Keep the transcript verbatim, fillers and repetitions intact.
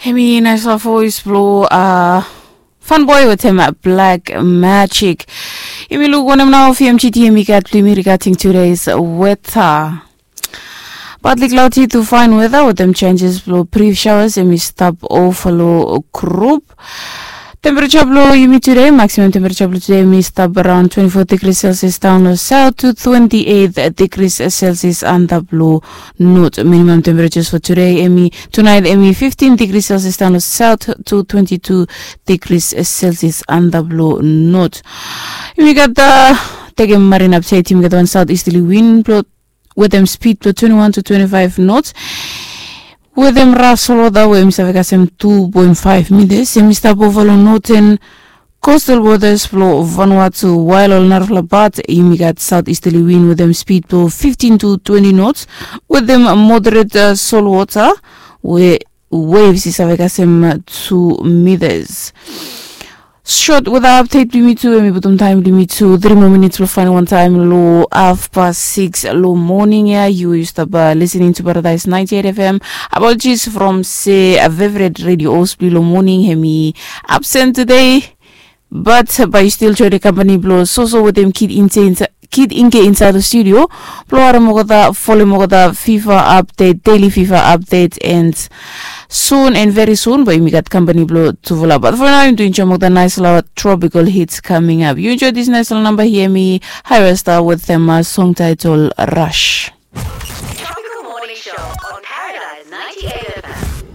Hemi naispela voes blong uh, Fanboy wetem Black Magic. Yumi luk wanem nao V M G T yumi gat blong yumi regarding today's weather. Partly cloudy to fine weather wetem changes blong brief showers yumi stap over long group. Temperature blong yumi today, maximum temperature blong today yumi stap around twenty-four degrees Celsius down long south to twenty-eight degrees Celsius antap long north. Minimum temperatures for today emi tonight emi fifteen degrees Celsius down south to twenty-two degrees Celsius antap long north. Yumi gat uh, tekem marine update yumi gat one south easterly wind blong wetem speed blong twenty-one to twenty-five knots. Wetem raf solwota we yumi save kasem two point five meters yumi stap over long northern coastal waters blong Vanuatu, while ol narafala pat yumi gat south easterly wind wetem speed blong fifteen to twenty knots wetem moderate uh, solwota we waves i save kasem uh, two meters. Short weather update blong yumi tu, emi putum taem blong yumi tu three more minutes blong faenem wan taem long half past six long morning ya. Yu yu stap uh, listening to Paradise ninety-eight F M. Apologies from se uh, favorite radio host blong long morning hemi absent today. But bae yu stil join the company blong soso wetem kid inse insa kid inge insaed long studio blong harem olgeta, folem olgeta fifa update, daily fifa update and soon and very soon bae yumi gat company blong tufala. But for now yumi tu enjoem olgeta naispela tropical hits coming up. Yu enjoy this naispela namba hia mi High Rasta wetem uh, song title Rush.